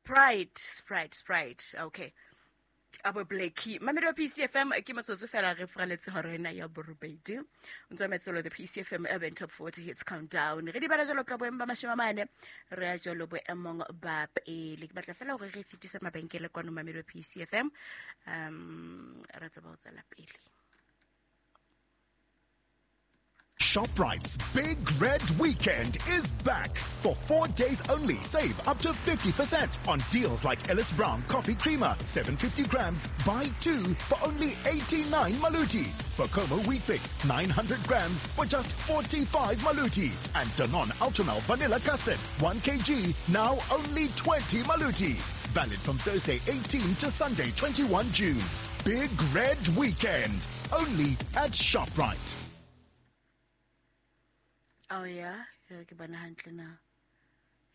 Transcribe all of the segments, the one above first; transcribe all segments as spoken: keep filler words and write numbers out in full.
Sprite, Sprite, Sprite. Okay. Abo Blackie. Mamedi wa P C F M ke motsotso fela re fraletse hora ena ya borobedi. O ntse o mametse the P C F M Urban Top forty Hits Countdown. Re di bala jalo ka boemo ba mashome a mane, re ya jalo boemong ba pele. Ke batla fela hore re fetise mabenkele kwano mamedi wa P C F M. Um, re tsebe ho tswela pele. ShopRite's Big Red Weekend is back. For four days only, save up to fifty percent on deals like Ellis Brown Coffee Creamer, seven fifty grams, buy two for only eighty-nine Maluti. Bokomo Weet-Bix, nine hundred grams for just forty-five Maluti. And Danone Ultramel Vanilla Custard, one kilogram, now only twenty Maluti. Valid from Thursday eighteenth to Sunday twenty-first June. Big Red Weekend, only at ShopRite. Oh yeah, ke bona hantle na.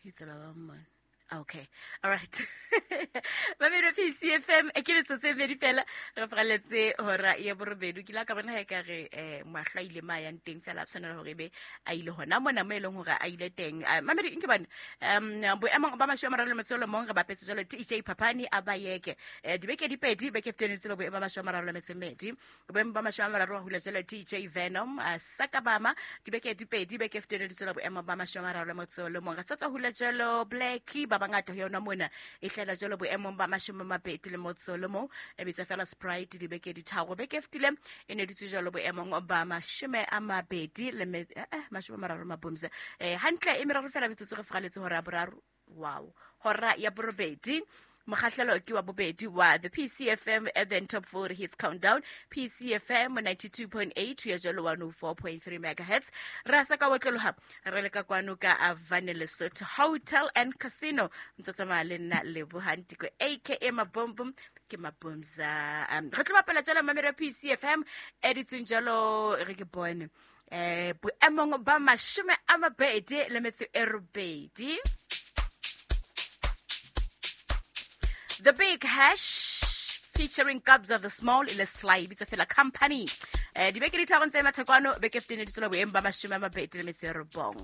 Itsela ba mmone. Okay. All right. Mamedi P C F M e ke metsotso e medi fela re fraletse hora ya borobedi. Ke la ka bona ha e ka re eh mahlo a ile ma yang teng fela a tshwanela hore ebe a ile hona mona mo e leng hore a ile teng. Mamedi nke bana um boemong ba mashome a mararo le metso e mong re bapetse jalo T J Papani a ba yeke. Eh dibeke di pedi beke feteng tselo boemo ba mashome a mararo le metso e mmedi. Boemo ba mashome a mararo a hula jalo T J Venom Sakabama dibeke di pedi beke feteng tselo boemo ba mashome a mararo le metso e mong. Re sa tswa hula jalo Blackie ba bangata ho yona mona e hlela jalo boemong ba mashome a mabedi le motso le mong e bitsa fela Sprite dibeke di tharo beke fetile e ne ditse jalo boemong ba mashome a mabedi le eh mashome a mararo mabomse eh hantle e meraro fela metsotso re fraletse hora ya boraro. Wow, hora ya borobedi. Mokgahlelo ke wa bobedi wa the P C F M Urban Top forty Hits Countdown, P C F M ninety-two point eight ya jalo one oh four point three megahertz. Re sa ka otloloha re le ka kwano ka Avane Lesotho Hotel and Casino. Ntse tsamaya le nna Lebohang Tiko aka Mabombom ke Mabomza. Um, re tlo bapala jalo mamedi wa P C F M e ditseng jalo re ke bone eh boemong ba mashome a mabedi le metso e robedi. The Big Hash featuring Kabza the Small ile Sly bitsa fela company. Eh dibeke di tharo tse mathekwane beke fifteen di tswela boemo ba mashome a mabedi le metso e robong.